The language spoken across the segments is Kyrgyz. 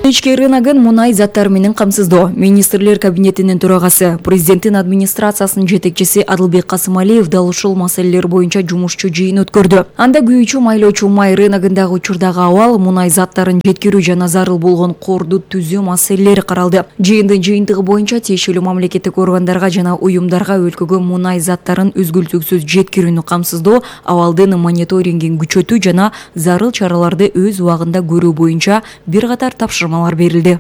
Ички рыногун мунай заттары менен камсыздоо. Министрлер кабинетинин төрагасы, президенттин администрациясынын жетекчиси Адылбек Касымалиев дал ушул маселелер боюнча жумушчу жыйын өткөрдү. Анда күйүүчү майлоочу май рыногундагы учурдагы абал, мунай заттарын жеткирүү жана зарыл болгон корду түзүү маселелери каралды. Жыйындын жыйынтыгы боюнча тиешелүү мамлекеттик органдарга жана уюмдарга өлкөгө мунай заттарын үзгүлтүксүз жеткирүүнү камсыздоо, абалдын мониторингин күчөтүү жана зарыл чараларды өз убагында көрүү боюнча бир катар тапшырмалар берилди.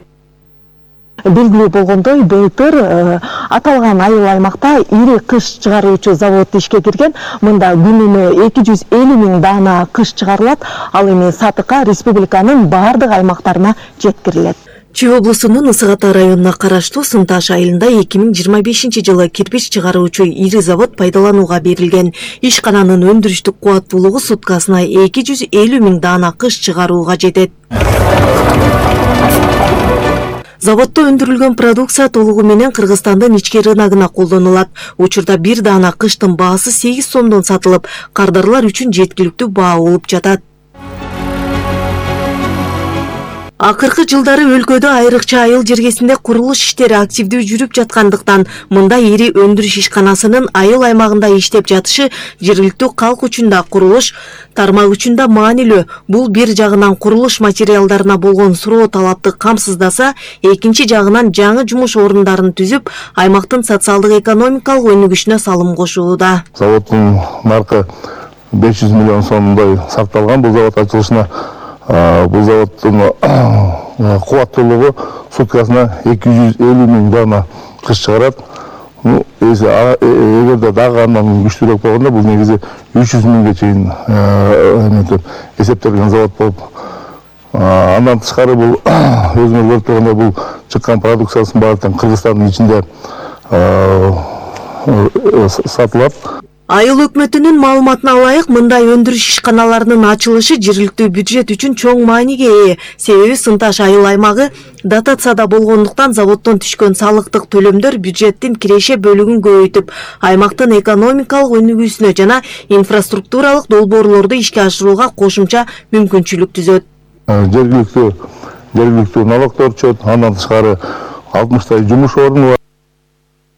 Белгилүү болгондой, былтыр аталган айыл аймакта ири кыш чыгаруучу завод ишке кирген. Мында күнүнө 250 миң даана кыш чыгарылат. Ал эми сатыкка республиканын бардык аймактарына жеткирилет. Чүй облусунун Ысык Ата районуна караштуу Сынташ айылында 2025-жылы кирпич чыгаруучу ири завод пайдаланууга берилген. Ишкананын өндүрүштүк кубаттуулугу суткасына 250 миң даана кыш чыгарууга жетет. Заводдо өндүрүлгөн продукция толугу менен Кыргызстандын ички рыногуна колдонулат. Учурда бир даана кыштын баасы 8 сомдон сатылып, кардарлар үчүн жеткиликтүү баа болуп жатат. Акыркы жылдары өлкөдө айрыкча айыл жергесинде курулуш иштери активдүү жүрүп жаткандыктан, мында ири өндүрүш ишканасынын айыл аймагында иштеп жатышы жергиликтүү калк үчүн да, курулуш тармак үчүн да маанилүү. Бул бир жагынан курулуш материалдарына болгон суроо талапты камсыздаса, экинчи жагынан жаңы жумуш орундарын түзүп, аймактын социалдык экономикалык өнүгүшүнө салым кошууда. Заводдун наркы 500 миллион сомдой сакталган. Бул завод ачылышына бул заводдун кубаттуулугу суткасына 250 миң даана кыш чыгарат. Эгерде дагы андан күчтүүрөөк болгондо, бул негизи 300 миңге чейин эсептелген завод болуп, андан тышкары бул өзүңөр көрүп тургандай, бул чыккан продукциясын баардыгын Кыргызстандын ичинде сатылат. Айыл өкмөтүнүн маалыматына ылайык, мындай өндүрүш ишканаларынын ачылышы жергиликтүү бюджет үчүн чоң мааниге ээ. Себеби Сынташ айыл аймагы дотацияда болгондуктан заводдон түшкөн салыктык төлөмдөр бюджеттин киреше бөлүгүн көбөйтүп, аймактын экономикалык өнүгүүсүнө жана инфраструктуралык долбоорлорду ишке ашырууга кошумча мүмкүнчүлүк түзөт. Жергиликтүү налогдор чөт, андан тышкары 60 жумуш орну бар.